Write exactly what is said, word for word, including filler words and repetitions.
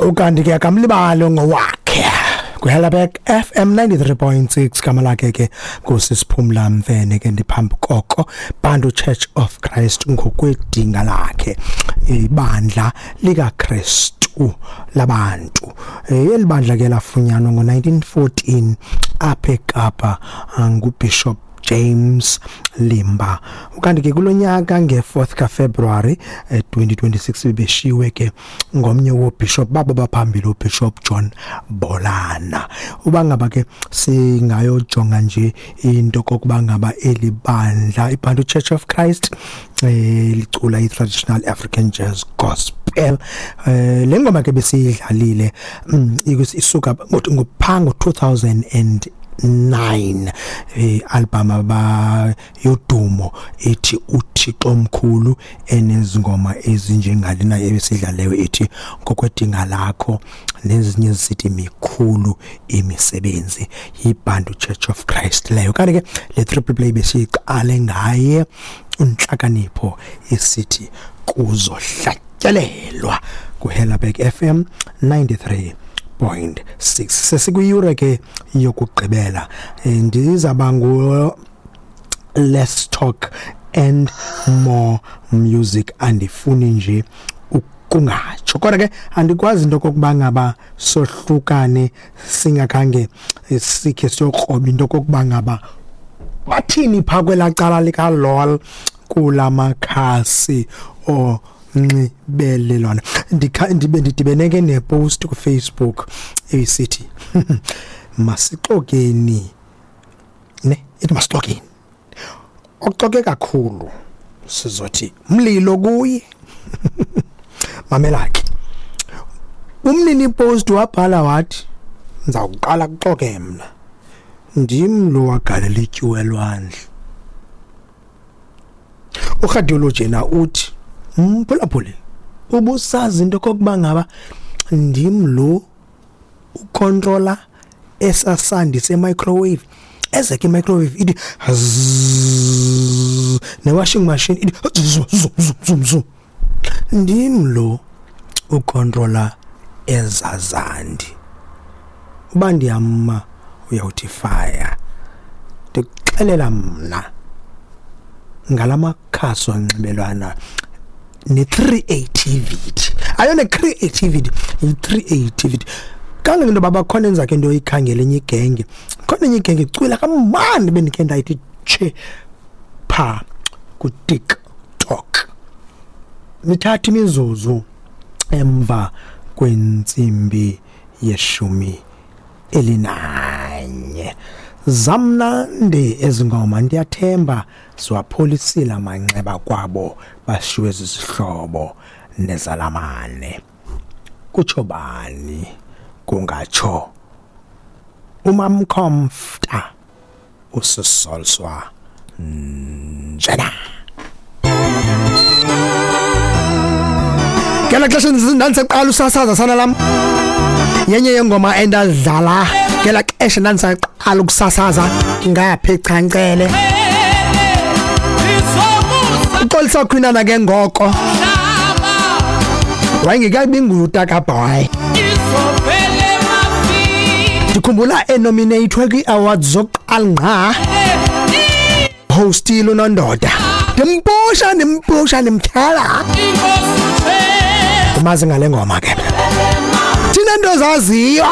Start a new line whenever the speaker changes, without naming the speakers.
Ukanti ke akamlibali ngowakhe kwiHellerberg F M ninety-three point six. Gama lakhe ke nguSisiphumla Mfene ke, ndiphambi koko Bantu Church of Christ ngokwedinga lakhe, ibandla likaKristu labantu. Eli bandla ke lafunyanwa ngo-nineteen fourteen apha eKapa nguBishop James Limba. Ukanti ke kulonyaka nge-fourth kaFebruary twenty twenty-six bebeshiwe ke ngomnye woBishop babo baphambili, uBishop John Bolana. Uba ngaba ke singayojonga nje into kokuba ngaba eli bandla iBantu Church of Christ eh licula i-traditional African jazz gospel. eh le ngoma ke besiyidlalile mm, isuka ngopha ngo-two thousand and nine, i-album aba yodumo ethi uThixo omkhulu, enezingoma ezinjengalena ebesidlaleyo ethi Ngokwedinga Lakho nezinye ezisithi Mikhulu Imisebenzi. YiBantu Church of Christ leyo. Kanti ke le triple play besiyiqale ngaye uNhlakanipho esithi Kuzohlatyelelwa kuHellerberg F M ninety-three point six. Sesikwiyure ke yokugqibela. Ndizaba ngu let's talk and more music, andifuni nje ukungatsho, kodwa ke andikwazi into kokuba ngaba sohlukane singakhange sikhe siyokroba into kokuba ngaba bathini phaa kwelaa cala lika-lol kulamakhasi onxibelelwano. Ndikha ndibe ndidibene ke nepost kuFacebook eyisithi masixokeni ne, ithi masixokeni, oxoke kakhulu sizothi mlilo kuye. Mamela ke, umnini post wabhala wathi, "Ndizawuqala kuxoke mna, ndim lo wagalela ityuwa elwandle." Urhadiology yena uthi, "Mphulaphuli, ubusazi into kokuba ngaba ndim lo ucontrola esasandi se-microwave, ezeke i-microwave ithi zzzz, ne-washing machine ithi zum zum zum zum zum. Ndim lo ucontrola ezazandi. Uba ndiyama uyawuthi fire. Ndikuxelela mna ngalamakhasi onxibelelwano ne-creativity, ayona creativity, yi-creativity kangangento yoba bakhona enza ke into oyikhangela enye igenge, khona enye igenge icwila kamandi bendikhe ndayithi tshe phaa kuTikTok." Nithatha imizuzu emva kwentsimbi yeshumi elinanye. Zamnandi ezi ngoma, ndiyathemba siwapholisile amanxeba kwabo bashiwe zizihlobo nezalamane. Kutsho bani? Kungatsho uMamkhomfta usisolswa njena. Ngela xesha ndandisaqala usasaza, sana lam, yenye yengoma endadlala ngela xesha ndandisaqala ukusasaza ngapha eChancele, uXolisa Khwinana ke ngoko wayengekabi ngutakabhoy. Ndikhumbula enominatwe kwii-awards zokuqala ngqa, hostile unondoda, ndimpusha ndimpusha ndimtyhala. Ndimazi ngale ngoma ke, thina nto zaziyo.